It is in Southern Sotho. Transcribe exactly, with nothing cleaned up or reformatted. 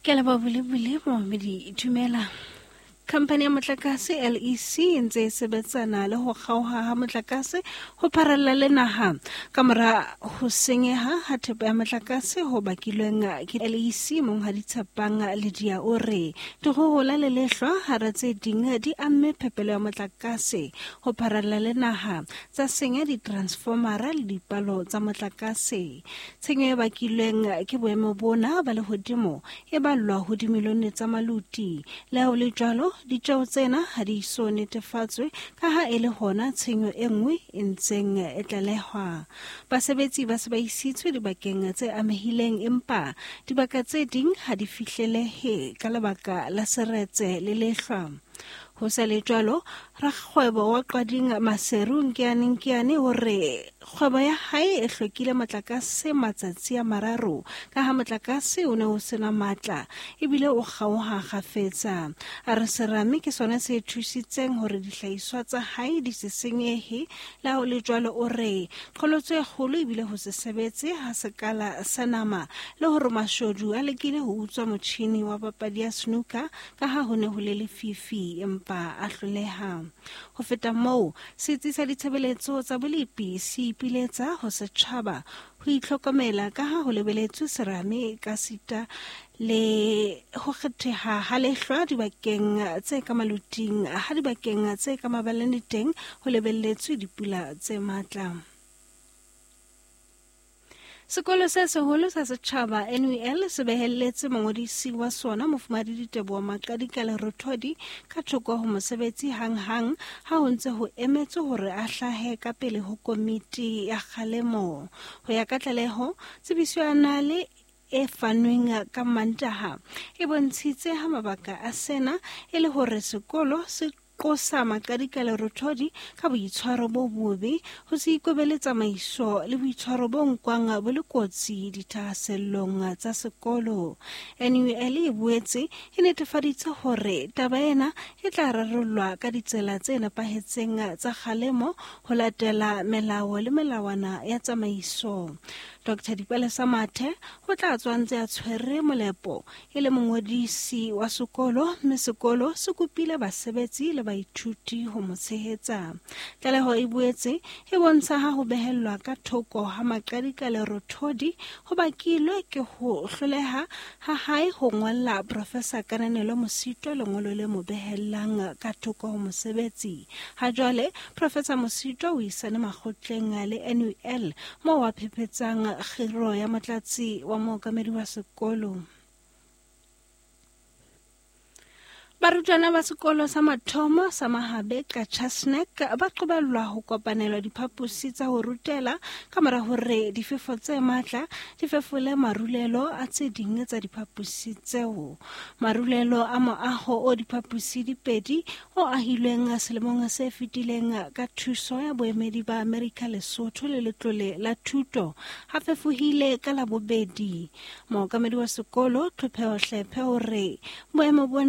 Ke a leboha Bulebule momamedi dumela. Khamphani ya motlakase L E C e ntse e sebetsana le ho kgaoha ha motlakase ho pharalla le naha ka mora ho senyeha ha thepa ya motlakase ho bakilweng ke L E C. Monghadi Tshepang Ledia o re dikgohola le lehlwa hara tse ding di amme phepelo ya motlakase ho pharalla le naha, tsa senya di-transformera le dipalo tsa motlakase. Tshenyo e bakilweng ke boemo bona ba lehodimo e ballwa ho dimilione tsa maluti. Le ha ho le jwalo, ditjeo tsena ha di so netefatswe ka ha e le hona tshenyo e nngwe e ntseng e tlalehwa. Basebetsi ba se ba isitswe dibakeng tse amehileng, empa dibaka tse ding ha di fihlelehe ka lebaka la seretse le lehlwa. Ho sa le jwalo, rakgwebo wa Qwading Maseru Nkiane Nkiane o re kgwebo ya hae e hlokile motlakase matsatsi a mararo ka ha motlakase o ne o sena matla ebile o kgaoha kgafetsa. A re serame ke sona se thusitseng hore dihlahiswa tsa hae di se senyehe. Le ha ho le jwalo, o re qholotso e kgolo ebile ho se sebetse ha sekala sa nama le hore mashodu a lekile ho utswa motjhini wa papadi ya snooker ka ha ho ne ho le lefifi empa a hloleha. Ho feta moo, setsi sa ditshebeletso tsa bolepi se ipiletsa ho setjhaba ho itlhokomela ka ha ho lebeletswe serame ka sita le ho kgetheha ha lehlwa dibakeng tse ka maluting, ha dibakeng tse ka mabalane teng ho lebelletswe dipula tse matla. Sekolo se seholo sa setjhaba N U L se behelletse mongodisi wa sona Mofumahadi Diteboho Maqadi ka Lerothodi ka thoko ho mosebetsi hanghang ha ho ntse ho emetswe hore a hlahe ka pele ho komiti ya kgalemo. Ho ya ka tlaleho, tsebiso ya nale e fanweng ka Mantaha e bontshitse ha mabaka a sena e le hore sekolo se qosa Maqadi ka Lerothodi ka boitshwaro bo bobe, ho se ikobele tsamaiso le boitshwaro bo nkwang bo le kotsi dithahasellong tsa sekolo. N U L e boetse e netefaditse hore taba ena e tla rarollwa ka ditsela tse nepahetseng tsa kgalemo ho latela melao le melawana ya tsamaiso. Doctor Dipalesa Mathe o tla tswa ntse a tshwere molepo e le mongodisi wa sekolo, mme sekolo se kopile basebetsi le baithuti ho mo tshehetsa. Tlaleho e boetse e bontsha ha ho behellwa ka thoko ha Maqadi ka Lerothodi ho bakilwe ke ho hloleha ha hae ho ngolla Professor Kananelo Mosito lengolo le mo behellang ka thoko ho mosebetsi. Ha jwale Professor Mosito o isane makgotleng le N U L moo a phephetsang kgiro ya motlatsi wa mookamedi wa sekolo. Barutwana ba sekolo sa mathomo sa Mahabe ka Chasnek ba qobellwa ho kopanelwa diphaposi tsa ho rutela ka mora hore difefo tse matla di fefole marulelo a tse ding tsa diphaposi tseo. Marulelo a moaho o diphaposi di pedi o ahilweng selemong se fetileng ka thuso ya boemedi ba Amerika Lesotho le Letlole la Thuto ha fefohile ka Labobedi. Mookamedi wa sekolo Tlhopheho Hlephe o re boemo bona